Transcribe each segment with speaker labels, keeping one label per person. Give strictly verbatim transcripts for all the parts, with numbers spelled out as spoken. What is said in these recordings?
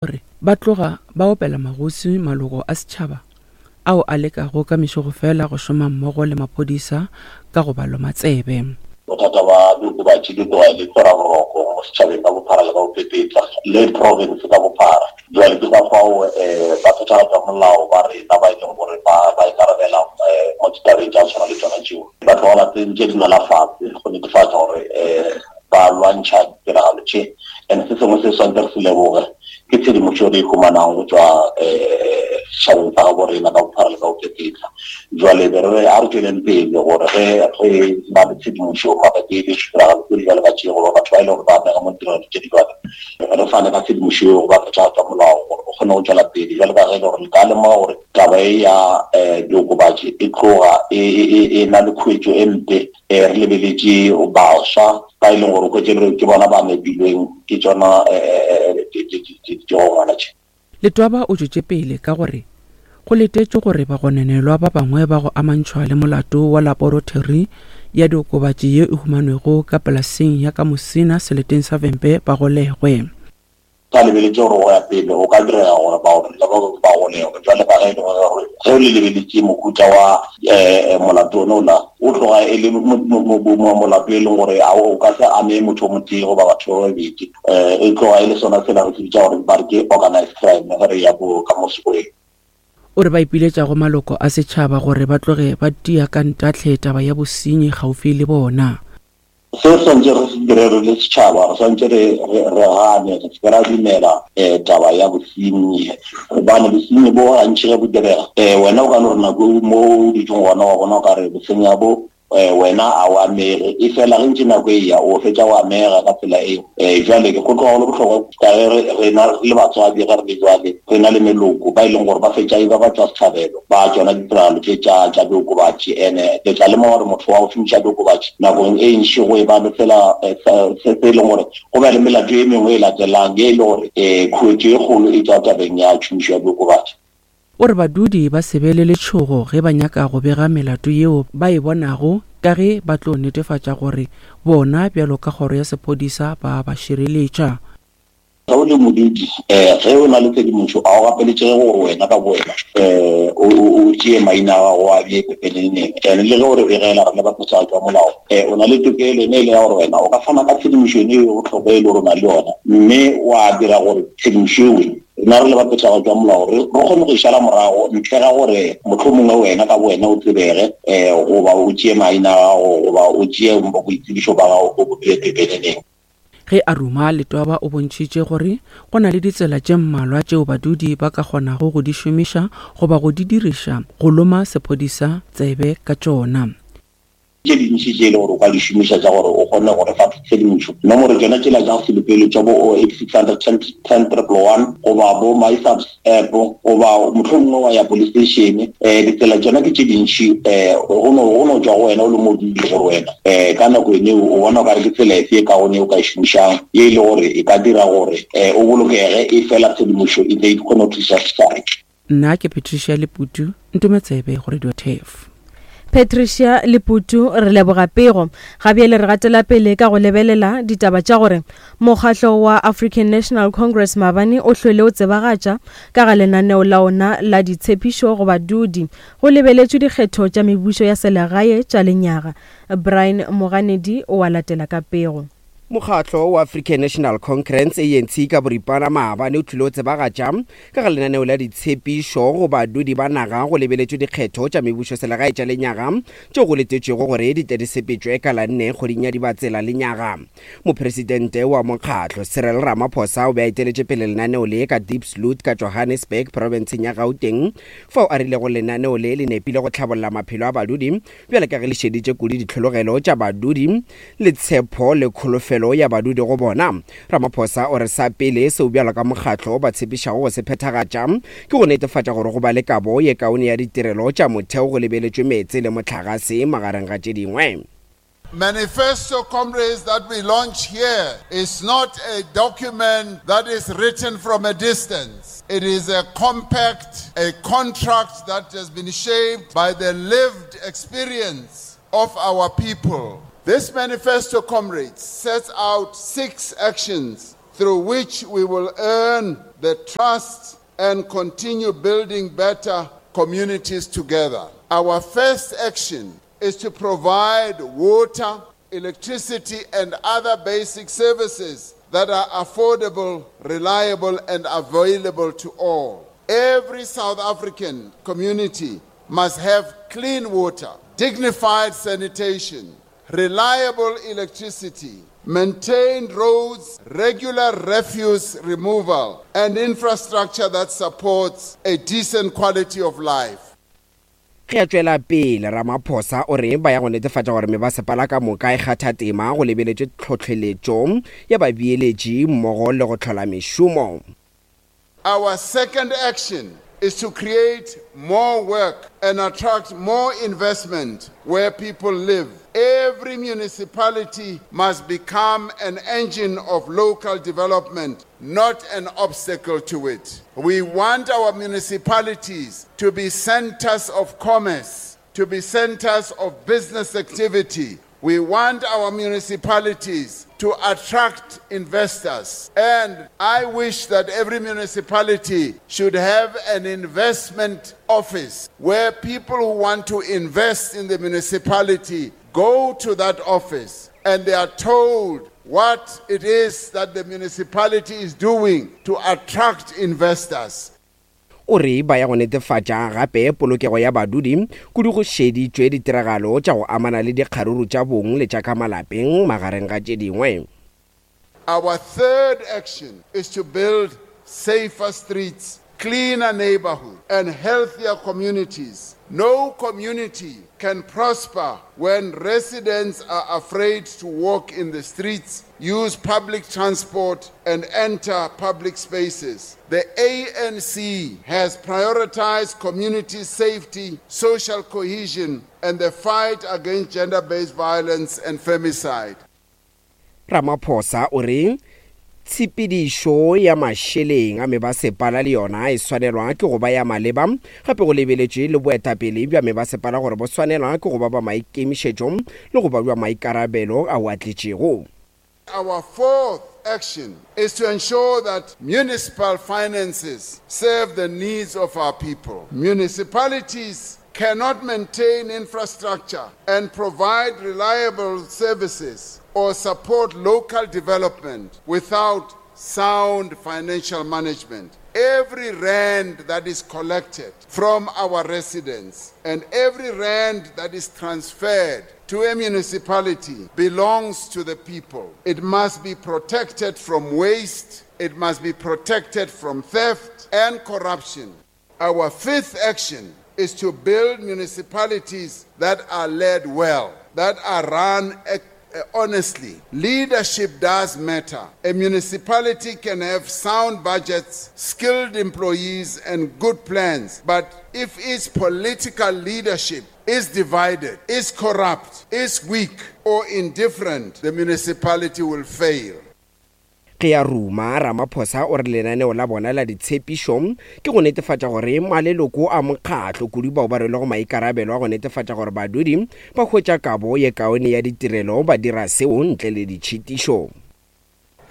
Speaker 1: Gore ba tloga ba opela magoswi maloko a setšhaba ao a lekago ka mešogofela go šoma mmogo le maphodisa ka go ba loma tsebe.
Speaker 2: Bothata ba diokobatši di tloga e le tlhoraboroko mo setšhabeng ka bophara le ka bopepetla le province ka bophara. Bjale ke ka fao um baphethagatša molao ba rena ba e leng gore ba ba ikarabela um mo ditabeng tša go tshwana le tšona tšeo ba tloga ba tsentše dinala fase go netefatša gore um ba lwantšha ditiragalo tše. And se sengwe se swantse re se leboge ke tshedimošo re e humanago go tšwa um setšhabeng sa gabo rena ka bophara le ka bopepetla. Jwale be re re a re tšweleng pele gore ge re na le tshedimošo mabapi le ditiragalo tse di bjalo ka tše goba batho ba e le gore ba amega mo ditiragalo tše di bjalo, re fane ka tshedimošo eo go ba phethagatša molao gore o kgone go tšwela pele. Bjalo ka ge e le gore le ka lemoga gore taba e ya um diokobatši e tloga e, e, e, e na le khuetšo e mpe, um re lebeletše baswa ba e leng gore o hwetše le ke bona ba nepilweng ke tšona um digongwana tše.
Speaker 1: Letwaba o tšwetše pele ka gore go letetšwe gore bagononelwa ba bangwe ba go amantšhwa le molato wa laboratori ya diokobatši ye e humanwego ka polaseng ya ka Musina seleteng sa Vhembe ba golegwe.
Speaker 2: Sa lebeletše gore go ya pele go ka direga gore bagononelwa ba bangwe ba golegwe. Bjale ka ge e le gore ge o le lebeletše mohuta wa um molato one ola o tloga e le molato e leng gore a o ka se ame motho o motee goba batho ba babedi, um e tloga e le sona sela re se bitša gore ba re ke organized crime ge re ya ko ka mo sekgweng.
Speaker 1: O re ba ipiletša go maloko a setšhaba gore ba tloge ba tia ka ntahle taba ya bosenyi gaufi le bona.
Speaker 2: Se re swantše re se dire re le setšhaba, re swantše re re re gane, re se ke ra dumela um taba ya bosenyi, gobane bosenyi bo gantši ge bo direga um wena o ka no re nako e mo o dutšeng gona wa bona o ka re bosenya bo um wena a o amege, e fela ge ntše nako e ya o fetša o amega ka tsela eo. Um jwale go tloga go le bohlokwa ka ge re rena re le batswadi ge re le jwale re na le meloko ba e leng gore ba fetša e ba ba tšwa sehlabelo ba tšona ditiragalo tše tša tša diokobatši. Ene le tla lemoga gore motho wa go šomiša diokobatši nakong e ntši go e ba le tsela se se e leng gore go ba le melato e mengwe e latelang ye e le gore um khuetšo e kgolo e tšwa tabeng ya tšhomišo ya diokobatši.
Speaker 1: O re badudi ba se be le letšhogo ge ba nyaka go bega melato yeo ba e bonago ka ge ba tlo netefatša gore bona bjalo ka kgoro ya sephodisa ba ba šireletša.
Speaker 2: Ge o le modudi um ge o na le tshedimošo a o gapeletšege gore wena ka bowena um o tšee maina a gago a bee pepeneneng. And le ge o re begela re le baphethagatši ba molao um o na le tokelo ene e le ya gore wena o ka fana ka tshedimošo ene e bohlokwa e le gore o na le yona, mme wa dira gore tshedimošo ewe rena re le baphethagatši ba molao re kgone go e šala morago ntle ga gore mohlomongwe wena ka bowena o tsebege um goba o tšee maina a gago goba o tšee boitsebišo ba gago o bo bee pepeneneng.
Speaker 1: Ge a ruma, Letwaba o bontšhitše gore go na le ditsela tše mmalwa tšeo badudi ba ka kgonago go di šomiša goba go di diriša go loma sephodisa tsebe ka tšona.
Speaker 2: Tše dintši tše e le gore o ka di šomiša tša gore o kgone go re fa tshedimošo, nomoro tšona tšela tša go se lokele tša bo oh eight six hundred ten ten triple one goba bo MySAPS app goba mohlomongwe wa ya police station. Um ditsela tšona ke tše dintši, um go no go no tšwa go wena o le modudi gore wena um ka nako ene o bona o ka re ke tsela efe e kaone o ka e šomišang ye e le gore e ka dira gore um o bolokege, e fela tshedimošo e tle e kgone go thuša setšhaba.
Speaker 1: Nna ke Patricia Leputu, Ntometsebe go Radio Turf.
Speaker 3: Patricia Leputu, re leboga pego. Ga bjale re gatela pele ka go lebelela ditaba tša gore mokgatlo wa African National Congress maabane o hlwele o tsebagatša ka ga lenaneo la ona la ditshepišo go badudi go lebeletšwe dikgetho tša mebušo ya selegae tša lenyaga. Brian Moganedi o a latela ka pego.
Speaker 4: Mokgatlo wa African National Congress A N C ka boripana maabane o tlile o tsebagatša ka ga lenaneo la ditshepišo go badudi ba naga go lebeletšwe dikgetho tša mebušo selegae tša lenyaga tšeo go letetšwego gore di tle di sepetšwe ka la nne kgweding ya Dibatsela lenyaga. Mopresidente wa mokgatlo Cyril Ramaphosa o be a eteletše pele lenaneo le ka Diepsloot ka Johannesburg profenseng ya Gauteng, fao a rilego lenaneo le le nepile go tlhabolla maphelo a badudi bjale ka ge le šeditše kudu ditlhologelo tša badudi le tshepo le kholofelo ya badudi go bona. Ramaphosa o re sa pele seo bjalo ka mokgatlo ba tshepišago go se phethagatša ke go netefatša gore go ba le kabo ye kaone ya ditirelo tša motheo go lebeletšwe meetse le mohlagase magareng ga tše dingwe.
Speaker 5: Manifesto, comrades, that we launch here is not a document that is written from a distance. It is a compact, a contract that has been shaped by the lived experience of our people. This manifesto, comrades, sets out six actions through which we will earn the trust and continue building better communities together. Our first action is to provide water, electricity, and other basic services that are affordable, reliable, and available to all. Every South African community must have clean water, dignified sanitation, reliable electricity, maintained roads, regular refuse removal, and infrastructure that supports a decent quality of life.
Speaker 4: Ge a tšwela pele, Ramaphosa o re ba ya go netefatša gore mebasepala ka moka e kgatha tema go lebeletšwe tlhohleletšo ya babeeletši mmogo le go hlola mešomo.
Speaker 5: Our second action is to create more work and attract more investment where people live. Every municipality must become an engine of local development, not an obstacle to it. We want our municipalities to be centers of commerce, to be centers of business activity. We want our municipalities to attract investors. And I wish that every municipality should have an investment office where people who want to invest in the municipality go to that office and they are told what it is that the municipality is doing to attract investors.
Speaker 4: O re ba ya go netefatša gape polokego ya badudi kudu go šeditšwe ditiragalo tša go amana le dikgaruru tša bong le tša ka malapeng magareng ga tše dingwe.
Speaker 5: Our third action is to build safer streets, cleaner neighborhoods, and healthier communities. No community can prosper when residents are afraid to walk in the streets, use public transport, and enter public spaces. The A N C has prioritized community safety, social cohesion, and the fight against gender-based violence and femicide.
Speaker 4: Ramaphosa o re tshepedišo ya mašeleng a mebasepala le yona e swanelwa ke go ba ya maleba, gape go lebeletšwe le boetapele bja mebasepala gore bo swanelwa ke go ba ba maikemišetšo le go ba bja maikarabelo ao a tletšego.
Speaker 5: Our fourth action is to ensure that municipal finances serve the needs of our people. Municipalities cannot maintain infrastructure and provide reliable services or support local development without sound financial management. Every rand that is collected from our residents and every rand that is transferred to a municipality belongs to the people. It must be protected from waste, it must be protected from theft and corruption. Our fifth action is to build municipalities that are led well, that are run honestly. Leadership does matter. A municipality can have sound budgets, skilled employees, and good plans, but if its political leadership is divided, is corrupt, is weak, or indifferent, the municipality will fail.
Speaker 4: Ge a ruma, Ramaphosa o re lenaneo la bona la ditshepišo ke go netefatša gore maleloko a mokgatlo kudu bao ba rwelego maikarabelo a go netefatša gore badudi ba hwetša kabo ye kaone ya ditirelo ba dira seo ntle le ditšhitišo.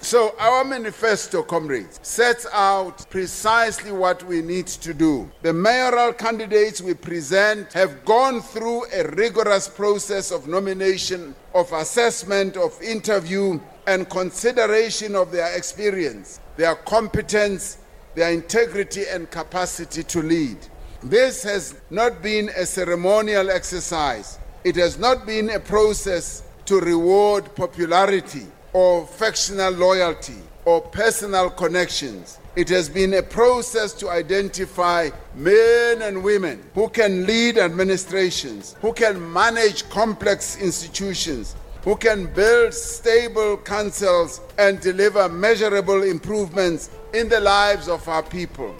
Speaker 5: So our manifesto, comrades, sets out precisely what we need to do. The mayoral candidates we present have gone through a rigorous process of nomination, of assessment, of interview, and consideration of their experience, their competence, their integrity and capacity to lead. This has not been a ceremonial exercise. It has not been a process to reward popularity or factional loyalty or personal connections. It has been a process to identify men and women who can lead administrations, who can manage complex institutions, who can build stable councils and deliver measurable improvements in the lives of our people.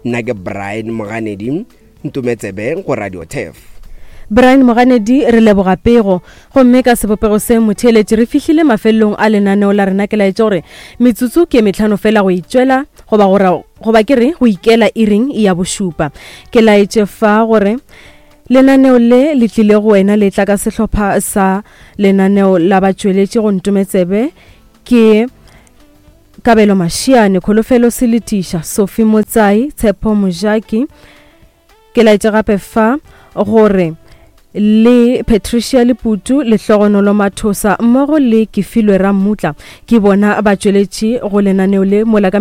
Speaker 4: Nna ke Brian Moganedi, Ntumetsebe go Radio Turf.
Speaker 3: Brian Moganedi, re leboga pego. Gomme ka sebopego se motheeletši re fihlile mafelelong a lenaneo la rena. Ke laetša gore metsotso ke metlhano fela go itšwela goba go goba ke re go ikela iring ya bošupa. Ke laetše fa gore lenaneo le le tlile go wena le tla ka sehlopha sa lenaneo la batšweletši go Ntumetsebe ke Kabelo Mashiane, Kholofelo Seletiša, Sophie Motsai, Tshepo Mojaki. Ke laetše gape fa gore le Patricia Leputu, Lehlogonolo Mathosa mmogo le Kefilwe Rammutla ke bona ba tšweletše go lenaneo le mola ka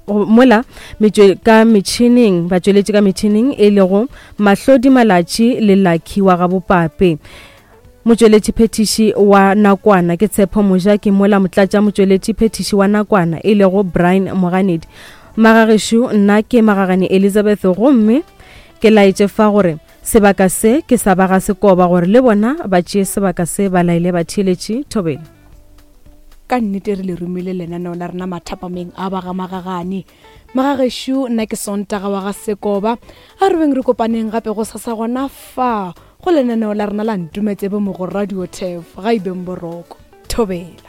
Speaker 3: mola metšwe ka metšhineng, ba tšweletše ka metšhineng e lego Mahlodi Malatši le Lucky wa Gabopape. Motšweletši phethiši wa nakwana ke Tshepo Mojaki, mola motlatša motšweletši phethiši wa nakwana e lego Brian Moganedi. Magagešo, nna ke Magagane Elizabeth, gomme ke laetše fa gore sebaka se ke sa ba ga Sekoba gore le bona ba tšee sebaka se ba laele batheeletši. Thobela.
Speaker 6: Ka nnete re le romile lenaneo la rena mathapameng a ba ga Magagane. Magagešo, nna ke Sontaga wa ga Sekoba. A re beng re kopaneng gape go sasa gona fa go lenaneo la rena la Ntumetsebe mo go Radio Turf. Ga ibeng boroko. Thobela.